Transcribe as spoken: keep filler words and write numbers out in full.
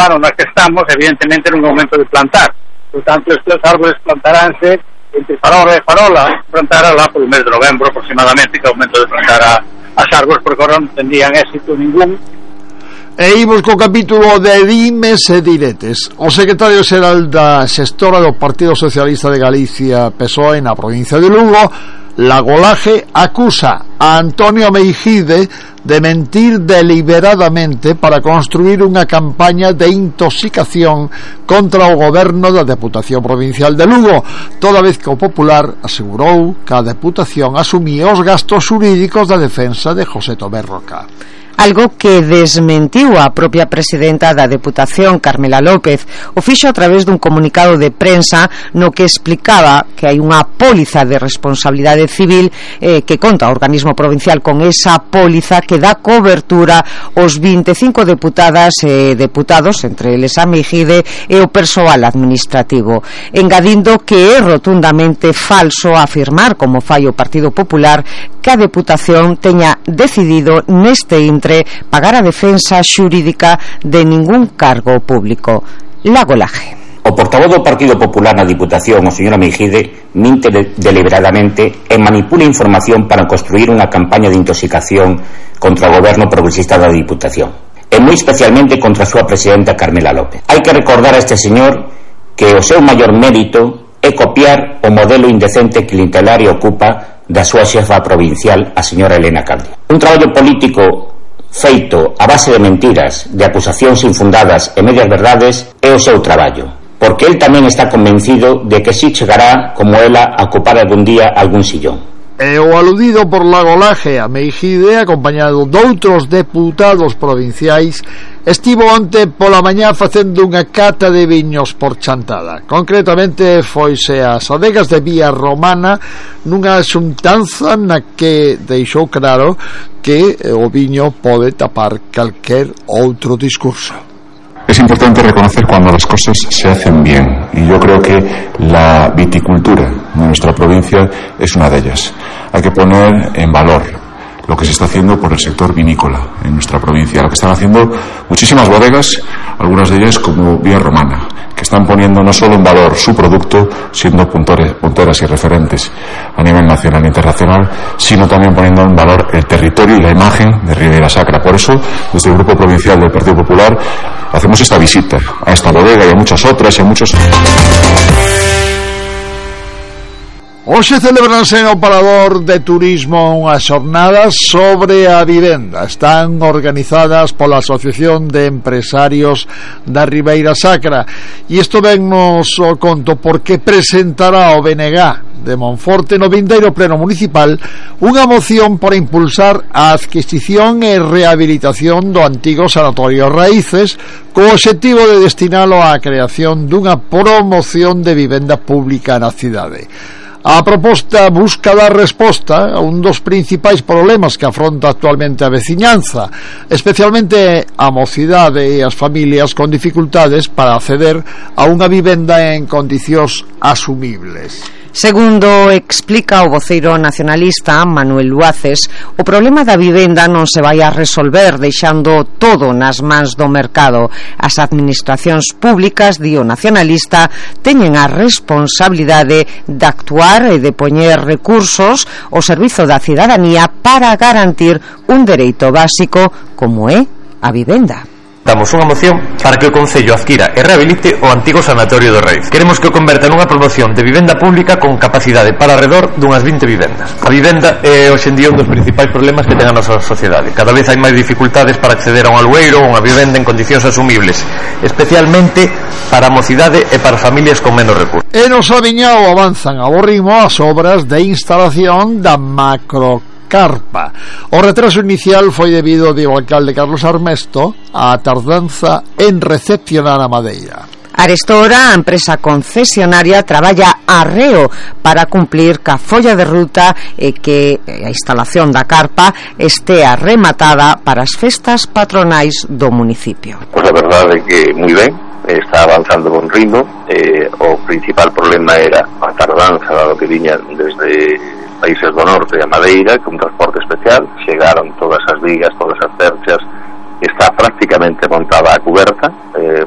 ano na que estamos, evidentemente non é o momento de plantar. Por tanto, estes árboles plantaránse entre farola e farola, plantará lá polo mes de novembro aproximadamente, que é o momento de plantar a, as árboles, porque agora non tendrían éxito ningún. E imos co capítulo de dimes e diretes. O secretario xeral da xestora do Partido Socialista de Galicia, P S O E, na provincia de Lugo, Lago Laje, acusa a Antonio Meijide de mentir deliberadamente para construir unha campaña de intoxicación contra o goberno da Deputación Provincial de Lugo, toda vez que o Popular asegurou que a Deputación asumía os gastos xurídicos da defensa de José Tomé Roca. Algo que desmentiu a propia presidenta da Deputación, Carmela López. O fixo a través dun comunicado de prensa no que explicaba que hai unha póliza de responsabilidade civil eh, que conta o organismo provincial con esa póliza que dá cobertura aos vinte e cinco deputadas e deputados, entre eles a Meijide e o persoal administrativo, engadindo que é rotundamente falso afirmar, como fai o Partido Popular, que a Deputación teña decidido neste intre pagar a defensa xurídica de ningún cargo público. Lago Laje. O portavoz do Partido Popular na Diputación, o señor Meijide, minte de, deliberadamente e manipula información para construir unha campaña de intoxicación contra o goberno progresista da Diputación, e moi especialmente contra a súa presidenta Carmela López. Hai que recordar a este señor que o seu maior mérito é copiar o modelo indecente clientelar e ocupa da súa xefa provincial, a señora Elena Candia. Un traballo político feito a base de mentiras, de acusacións infundadas e medias verdades é o seu traballo, porque el tamén está convencido de que si chegará, como ela, a ocupar algún día algún sillón. E o aludido por Lago Laje a Meijide, acompañado doutros deputados provinciais, estivo onte pola mañá facendo unha cata de viños por Chantada. Concretamente foise ás adegas de Vía Romana nunha xuntanza na que deixou claro que o viño pode tapar calquer outro discurso. Es importante reconocer cuando las cosas se hacen bien, y yo creo que la viticultura de nuestra provincia es una de ellas. Hay que poner en valor lo que se está haciendo por el sector vinícola en nuestra provincia, lo que están haciendo muchísimas bodegas, algunas de ellas como Vía Romana, que están poniendo no solo en valor su producto, siendo puntores, punteras y referentes a nivel nacional e internacional, sino también poniendo en valor el territorio y la imagen de Ribeira Sacra. Por eso, desde el Grupo Provincial del Partido Popular, hacemos esta visita a esta bodega y a muchas otras y a muchos... Hoxe celebranse no Parador de Turismo unhas xornadas sobre a vivenda. Están organizadas pola Asociación de Empresarios da Ribeira Sacra, e isto vennos o conto porque presentará o B N G de Monforte no vindeiro pleno municipal unha moción para impulsar a adquisición e rehabilitación do antigo Sanatorio Raíces, co obxectivo de destinalo á creación dunha promoción de vivenda pública na cidade. A proposta busca dar resposta a un dos principais problemas que afronta actualmente a veciñanza, especialmente a mocidade e as familias con dificultades para acceder a unha vivenda en condicións asumibles. Segundo explica o voceiro nacionalista Manuel Luaces, o problema da vivenda non se vai a resolver deixando todo nas mans do mercado. As administracións públicas, di o nacionalista, teñen a responsabilidade de actuar e de poñer recursos ao servizo da cidadanía para garantir un dereito básico como é a vivenda. Damos unha moción para que o Concello adquira e rehabilite o antigo Sanatorio do Raíz. Queremos que o converta nunha promoción de vivenda pública con capacidade para alrededor dunhas vinte vivendas. A vivenda é hoxe en día un dos principais problemas que ten a nosa sociedade. Cada vez hai máis dificultades para acceder a un alueiro ou unha vivenda en condicións asumibles, especialmente para a mocidade e para familias con menos recursos. E no Sabiñao avanzan ao ritmo as obras de instalación da macro carpa. O retraso inicial foi debido, di o alcalde Carlos Armesto, á tardanza en recepcionar a madeira. Arestora, a empresa concesionaria traballa arreo para cumplir ca folla de ruta e que a instalación da carpa estea rematada para as festas patronais do municipio. Pois a verdade é que moi ben, está avanzando con ritmo. Eh, o principal problema era a tardanza dado que viña desde países do norte a madeira con transporte especial. Chegaron todas as vigas, todas as cerchas, está prácticamente montada a cuberta, eh,